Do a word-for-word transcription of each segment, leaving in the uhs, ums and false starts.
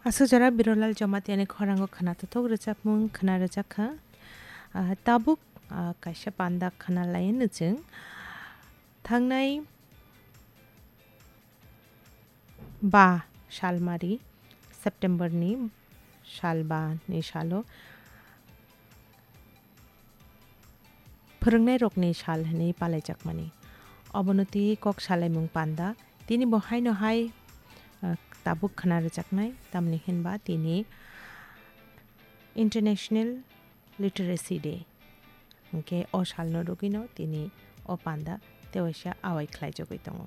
Aswk jora Birolal Jamatia ni khorang o khwnathok rwchapmung khwna rwjakha. Ah, tabuk, ah, kaisa panda khwna lai no chwng. Thangnai ba salmari, September ni sal ba ni salo phwrwngnairokni sal hwnwi palaijakmani. Obono twi kok salaimung panda, tini bo haino hai, ah, tabuk khwna rwjaknai, tamni hwnba tini International Literacy Day. Hwnkhe o salno rwgwino tini o panda tewaisa awai khlaijagwi tongo.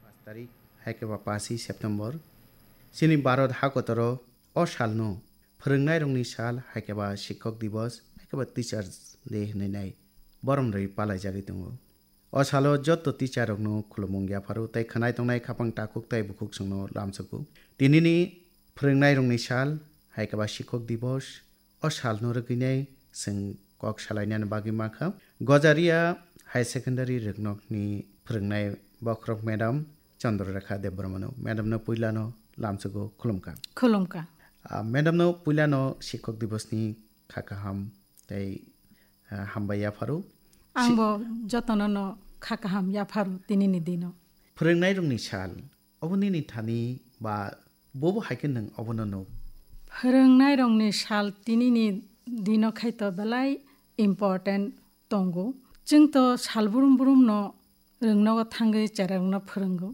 Pash tarik, hai khe ba pashi September, chini Bharat hakotoro o salno phwrwngnairokni sal, hai khe ba Shikhok Divas, hai khe ba Teachers Day hwnwi nai borom rwi palaijagwi tongo. O salo joto teacher rokno khulumung yapharo tei khwnai tongnai khapang takhuk tei bukhuk chwngno lamsogo. Tinini phwrwngnairokni sal, hai khe ba Shikhok Divas, o salno rwgwinai chwng kok salainani bagwi mankha. Gojaria High Secondary Rwngnokni phwrwngnai bokhorok Madam Chandra Rekha Debbarmano. Madamno puilano lamsogo, khulumkha. Khulumkha. Ah, Madamno puilano Shikhok Divasni kha kaham tei, ah, hambai yapharo. Ang Si- bo jotono no kha kaham yapharo tinini dino. Phwrwngnairokni sal, obo nini thani ba bobo hai khe nwng obono nuk? Phwrwngnairokni sal tinini dino khai to belai important tongo. Chwng to sal brum brum no rwngnogo thangwi cherarokno phwrwngo.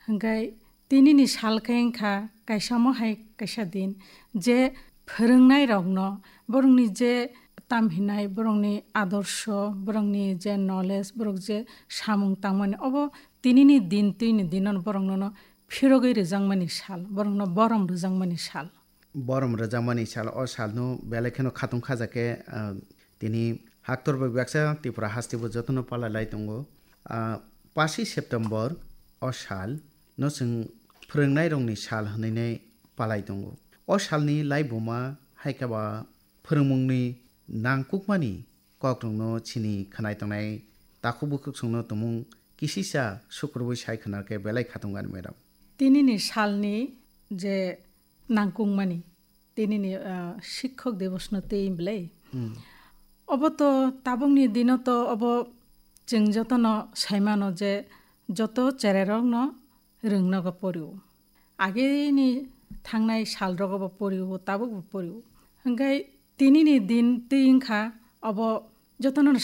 Hwnkhe tinini sal khe wngkha kaisa omo hai kaisa din, je phwrwngnairokno borokni je tamhinai, borokni adorsho, borokni je knowledge, borok je samung tangmani, obo tinini din twini dinono boroknono phirogwi rwjakmani sal, borokno borom rwjakmani sal. Borom rwjakmani sal, o salno belai kheno khatung khaja khe, ah, tini haktor bai baksa Tripura hasteo jotono palai lai tongo. Ah, pashi September o sal no chwng phwrwngnairokni sal hwnwi nai palai tongo. O salni laibuma hai khe ba phwrwngmungni nangkukmani kokrokno chini khwnai tongnai takhuk bukhuk chwngno tumung kisisa sukrubwi sai khwna khe belai khatung ani, madam. Tinini salni je nangkukmani, tinini, ah, Shikhok Divasno twi belai. Hmm. Obo to tabukni dino to obo chwng jotono saimano je joto chererokno rwngnogo porio. Ageni thangnai salrogo bo porio, tabuk bo porio. Hwnkhe tinini din twi wngkha obo jotono